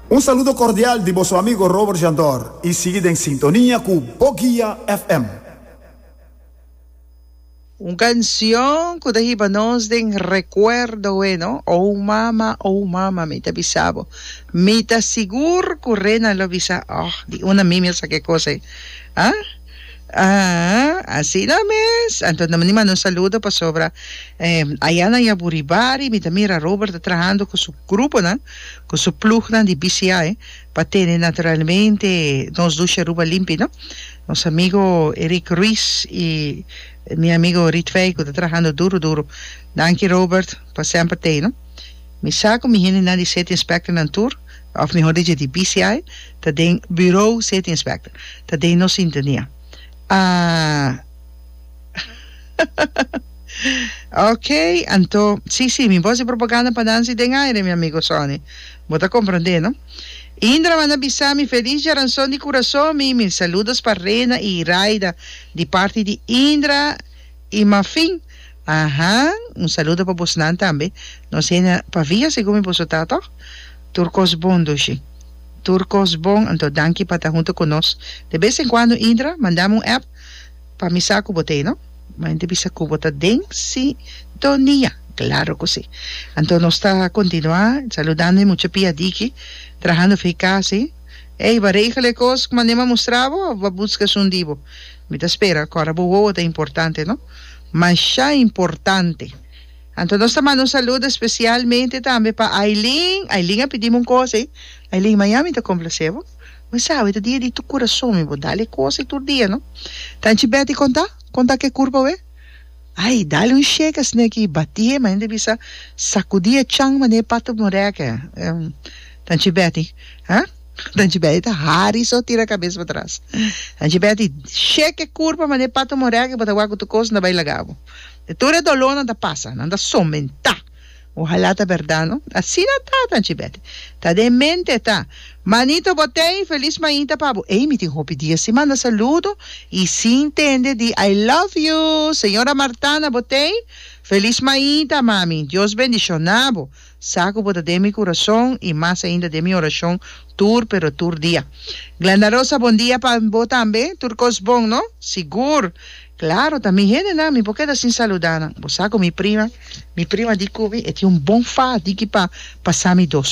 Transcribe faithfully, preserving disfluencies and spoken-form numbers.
Un saludo cordial di boso amigo Robert Jandor y sigui den sintonia cu Boguia F M. Un cancion cu ta hiba nos den recuerdo, bueno. Oh mama, oh mama, mi ta bisa bo. Mi ta sigur cu Rena lo bisa, oh, di una mimi sa ke cos eh. Ah? Ah, asina mes. Anto, na manda un saludo pasobra eh, aya na Jaburibari, mi ta mira Robert ta trahando cu su grupo, no? Cu su ploeg di B C I, pa tene naturalmente nos dushi Aruba limpi, no? Nos amigo Eric Ruiz y mi amigo Ritvei, cu ta trahando duro, duro. Danki, Robert, pa semper tin, no? Mi sa cu mi hendenan di City Inspector nan tur, of mihor dicho di B C I, ta den Bureau City Inspector, ta den nos sintonia. Ah, ok, anto, si, si, mi por propaganda pa Nancy den aire, mi amigo Sonny. Bo ta comprende, no? Indra manda bisa mi feliz diaranson di curason, mi, mi saludos pa Rena y Raida, di parti di Indra y Mafin. Aha, un saludo pa bosnan tambe. Nos na Pavia, segun mi boso ta, toch? Tur cos bon, dushi. Tur cos bon, anto danki pa ta hunto cu nos. De bes en cuando, Indra, manda mi un app pa mi sa cu bo t'ey, no? Manda bisa cu bo ta den sintonia. Claro cu si. Anto nos ta continua saludando mucho pia diki, trahando fi casi. Ei, ba regel cos manera m'a mustra bo, of busca un dibo. Mi ta spera, awor bo ta importante, no? Masha importante. Anto nos ta manda un saludo especialmente tambe pa Aileen. Aileen a pidi mi un cos, eh? Aileen, mañan mi ta complace bo. Ma sabe, ta dia di tu curason, mi bo dale cos tur dia, no? Tanchi Betty conta? Conta que curva, we? Ai, dale un shake asina, bati, ma ainda bisa sacudi e chan mane pato moreca. Um, Tanchi Betty, ha? Tanchi Betty ta hari so tira cabes pa tras. Tanchi Betty, shake curva mane pato moreca, bo ta wak tur cos ta bay laga bo. De tur e dolor nan ta pasa, nan ta somenta. Ojalá ta berdad, no? Asina ta, Tanchi Betty. Ta den mente ta. Manito bo t'ey, feliz mainta pa bo. Ei, mi tin hopi dia sin manda saludo y sin tende di "I love you". Señora Martana bo t'ey, feliz mainta, mami. Dios bendiciona bo. Sa cu bo ta den mi curason y mas ainda den mi oracion tur pero tur dia. Glenda Rosa, bon dia pa bo tambe. Tur cos bon, no? Sigur. Claro, tambe hende na mi, por keda sin saluda, no? Bo sa cu mi prima, mi prima di cu mi, e tin un bon fa di cu pa pasa mi dos.